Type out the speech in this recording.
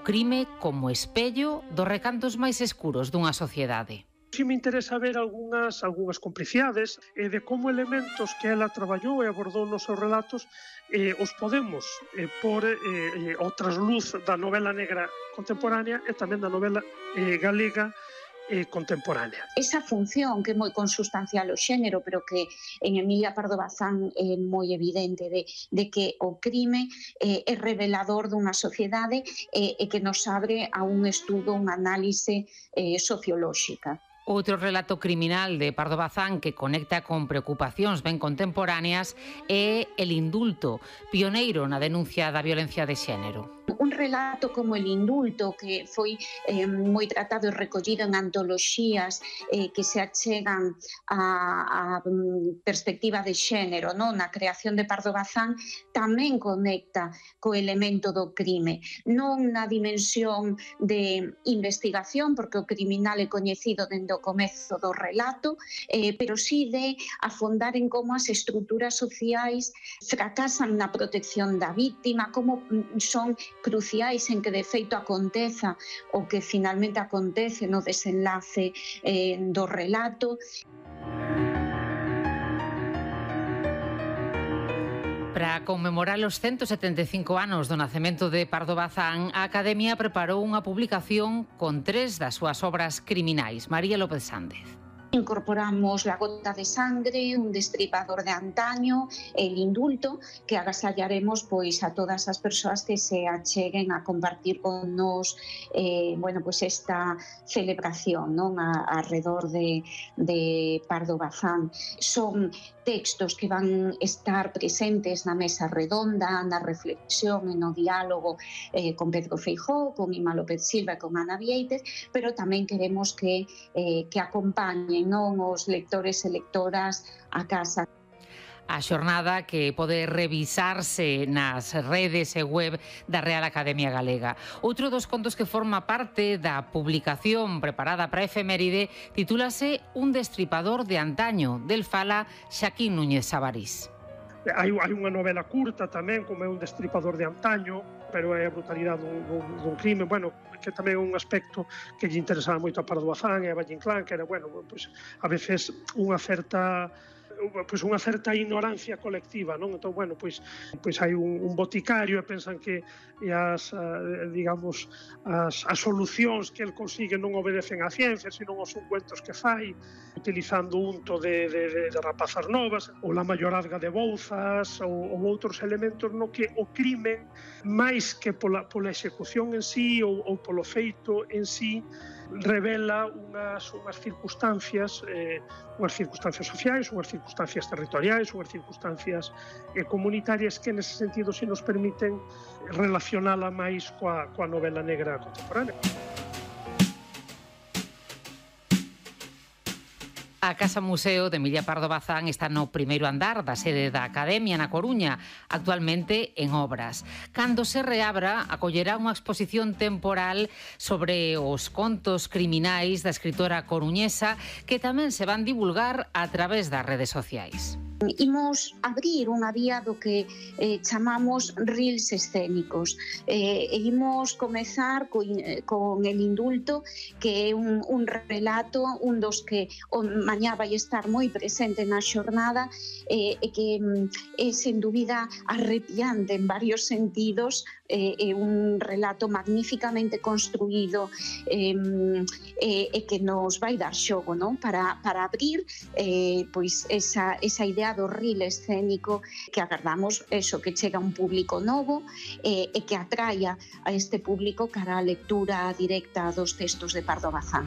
crime como espello dos recantos máis escuros dunha sociedade. Si me interesa ver algunhas complicidades de como elementos que ela traballou e abordou nos seus relatos os podemos pôr ao trasluz da novela negra contemporánea e tamén da novela galega contemporánea. Esa función que é moi consustancial ao xénero, pero que en Emilia Pardo Bazán é moi evidente de que o crime é revelador dunha sociedade e que nos abre a un estudo, unha análise sociolóxica. Outro relato criminal de Pardo Bazán que conecta con preocupacións ben contemporáneas é El indulto, pioneiro na denuncia da violencia de xénero. Un relato como El indulto, que foi moi tratado e recollido en antoloxías que se achegan a perspectiva de xénero, na creación de Pardo Bazán, tamén conecta co elemento do crime, non na dimensión de investigación, porque o criminal é coñecido dende o comezo do relato, pero sí de afondar en como as estruturas sociais fracasan na protección da víctima, como son cruciais en que de feito aconteza o que finalmente acontece no desenlace do relato. Para conmemorar os 175 anos do nacemento de Pardo Bazán, a Academia preparou unha publicación con 3 das súas obras criminais. María López Sández. Incorporamos La gota de sangre, Un destripador de antaño, El indulto, que agasallaremos pois a todas as persoas que se acheguen a compartir con nos esta celebración alrededor de Pardo Bazán. Son textos que van estar presentes na mesa redonda, na reflexión e no diálogo con Pedro Feijóo, con Ima López Silva e con Ana Vieites, pero tamén queremos que acompañen os lectores e lectoras a casa. A xornada que pode revisarse nas redes e web da Real Academia Galega. Outro dos contos que forma parte da publicación preparada para a efeméride titúlase Un destripador de antaño, del fala Xaquín Núñez Sabarís. Hai unha novela curta tamén, como é Un destripador de antaño, pero é a brutalidade dun crime, que tamén é un aspecto que lle interesaba moito a Pardo Bazán e a Valle Inclán, que era, a veces unha certa ignorancia colectiva, non? Entón, hai un boticario e pensan que as solucións que el consigue non obedecen á ciencia, sino aos ungüentos que fai, utilizando unto de rapazas novas, ou la mayorazga de bouzas, ou outros elementos no que o crime, máis que pola execución en sí ou polo feito en sí, revela unhas circunstancias sociais, unhas circunstancias territoriais, unhas circunstancias comunitarias que nese sentido se nos permiten relacionala máis coa novela negra contemporánea. A Casa Museo de Emilia Pardo Bazán está no primeiro andar da sede da Academia na Coruña, actualmente en obras. Cando se reabra, acollerá unha exposición temporal sobre os contos criminais da escritora coruñesa que tamén se van divulgar a través das redes sociais. Imos abrir unha vía do que chamamos reels escénicos. Imos comezar con El indulto, que é un relato, un dos que mañá vai estar moi presente na xornada e que é sen dúbida arrepiante en varios sentidos, é un relato magníficamente construído e que nos vai dar xogo, non? Para abrir esa idea do reel escénico que agardamos que chega a un público novo e que atraia a este público cara á lectura directa dos textos de Pardo Bazán.